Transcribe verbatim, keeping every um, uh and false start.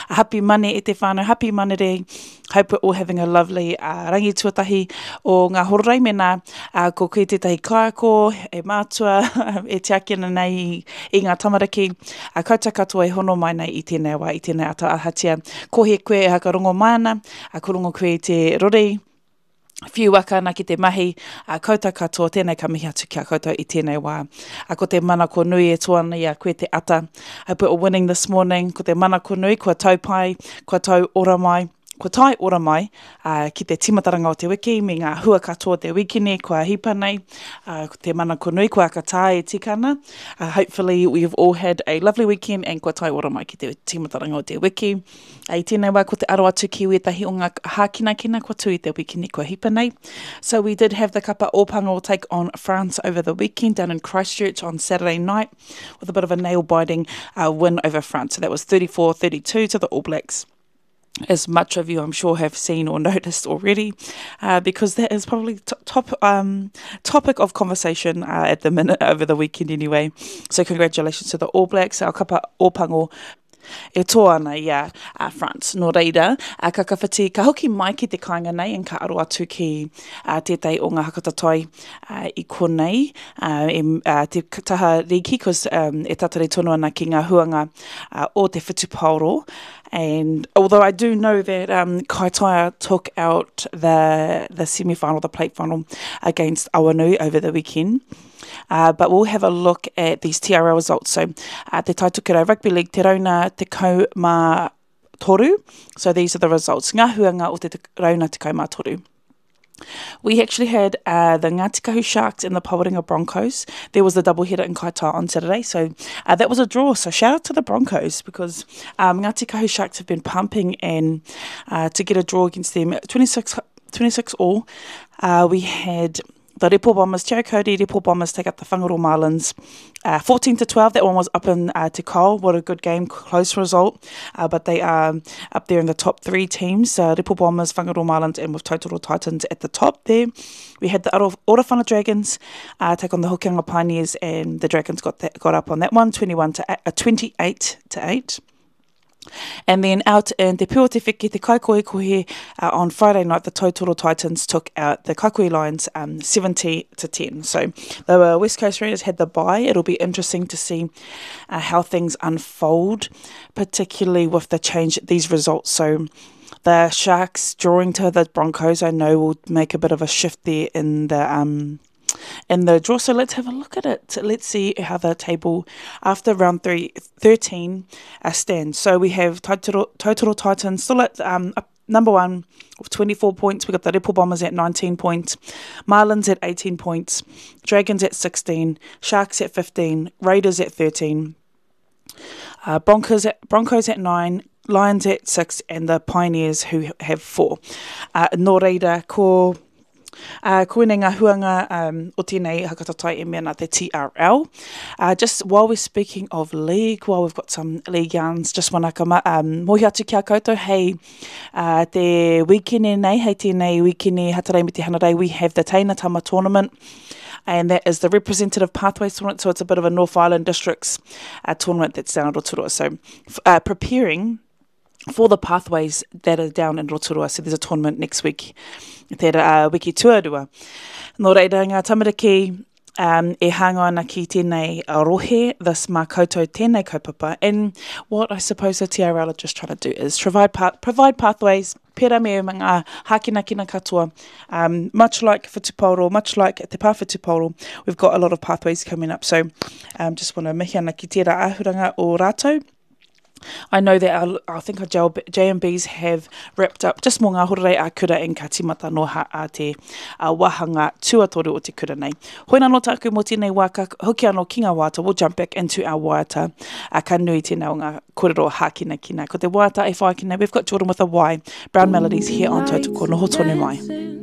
Happy Mane e te whānau, happy Manere. Hope we're all having a lovely uh, rangi tuatahi o ngā hororei mena uh, ko koe tētahi kaiako, e mātua, e tiaki ana nei i, i ngā tamariki. Uh, koutou katoa e hono mai nei i tēnei wā, i tēnei ata ahatia. Ko he koe e hakarongo mai ana, uh, ko rongo koe i te rori, whiu waka ana ki te mahi, a koutou katoa, tēnei ka mihi atu ki a koutou i tēnei wā. A ko te manako nui e toa ana i a koe te ata. Hope we're all winning this morning. Ko te manako nui, kua tau pai, kua tau ora mai, kua tae ora mai uh, ki te timataranga o te wiki me ngā hua katoa o te wikine kua hipa nei. Uh, ko te manako nui, kua akatā e tika ana. Uh, hopefully we've all had a lovely weekend and kua tae ora mai ki te timataranga o te wiki. Uh, I tēnei wā ko te aro atu ki wētahi o ngā hākinakina kua tū i te wikine kua hipa nei. So we did have the kapa Ōpango take on France over the weekend down in Christchurch on Saturday night with a bit of a nail-biting uh, win over France. So that was thirty-four thirty-two to the All Blacks, as much of you I'm sure have seen or noticed already, uh, because that is probably t- top, um, topic of conversation, uh, at the minute over the weekend anyway. So congratulations to the All Blacks, our kapa Ōpango e toa ana i a, a France. Nō reira, a ka kawhiti, ka hoki mai ki te kāinga nei and ka aro atu ki a, tētahi o ngā hakatatai a, i konei, a, e, a, te taha rīki, cause, um, e tatari tonu ana ki ngā huanga, a, o te whutupaoro. And although I do know that, um, Kaitaia took out the, the semi-final, the plate final against Awanui over the weekend. Uh, but we'll have a look at these T R L results. So, uh, Te Taitokerau Rugby League, Te Rauna Tekau Mā Toru. So these are the results. Ngā huanga o Te Rauna Tekau Mā Toru. We actually had, uh, the Ngāti Kahu Sharks and the Pawarenga Broncos. There was the double header in Kaitaia on Saturday, so, uh, that was a draw. So shout out to the Broncos, because, um, Ngāti Kahu Sharks have been pumping, and, uh, to get a draw against them, twenty-six, twenty-six all. Uh, we had the Repo Bombers, Te Aukuri Repo Bombers take up the Whangaroa Marlins, uh, fourteen to twelve. That one was up in, uh, Te Kao. What a good game, close result. Uh, but they are up there in the top three teams, uh, Repo Bombers, Whangaroa Marlins, and with Tautoro Titans at the top there. We had the Orowhana Dragons, uh, take on the Hokianga Pioneers, and the Dragons got that, got up on that one, twenty-one to eight, uh, twenty-eight to eight. And then out in Te Pū o Te Wheke, Te Kaikohekohe, uh, on Friday night, the Tautoro Titans took out the Kaikoi Lions, um, seventy to ten. So the West Coast Raiders had the bye. It'll be interesting to see, uh, how things unfold, particularly with the change, these results. So the Sharks drawing to the Broncos, I know, will make a bit of a shift there in the... Um, in the draw. So let's have a look at it. Let's see how the table after round three, thirteen, uh, stands. So we have Tautoro, Tautoro Titans still at, um, up number one with twenty-four points. We got the Repo Bombers at nineteen points, Marlins at eighteen points, Dragons at sixteen, Sharks at fifteen, Raiders at thirteen, uh, Broncos at, Broncos at nine, Lions at six, and the Pioneers who have four. Uh, nō reira, ko... Uh, ko ēnei ngā huanga, um, o tēnei hakatatai e mea nā te T R L. Uh, just while we're speaking of league, while we've got some league yarns, just wanna ka ma, um, mohi atu ki a koutou, hei, uh, te wikene nei, hei tēnei wikene Hatarei me te Hanarei, we have the Teina Tama Tournament, and that is the representative pathways tournament, so it's a bit of a North Island Districts, uh, tournament that's down at Rotorua. So f-, uh, preparing for the pathways that are down in Rotorua. So there's a tournament next week, te, uh, wiki tuarua. Nō reira ngā tamariki, um, e hāngai ana ki tēnei rohe, this mā koutou tēnei kaupapa. And what I suppose the T R L are just trying to do is provide, pa-, provide pathways, pera me ngā hākinakina katoa. Um, much like whutupaoro, much like te pā whutupaoro, we've got a lot of pathways coming up. So, um, just wanna mihi ana ki tērā āhuranga o rātou. I know that our, I think our J M Bs have wrapped up just mō ngā hororei a kura en ka timata no ha a te a wahanga tuatoru o te kura nei. Hoi nā no tāku mō tēnei wā, ka hoki anō ki ngā waiata, we'll jump back into our waiata. A ka nui tēnei o ngā kōrero hākinakina. Ko te waiata e whai ki nei, we've got Jordan with a Y, Brown Melodies here on Tautoko, noho tonu mai.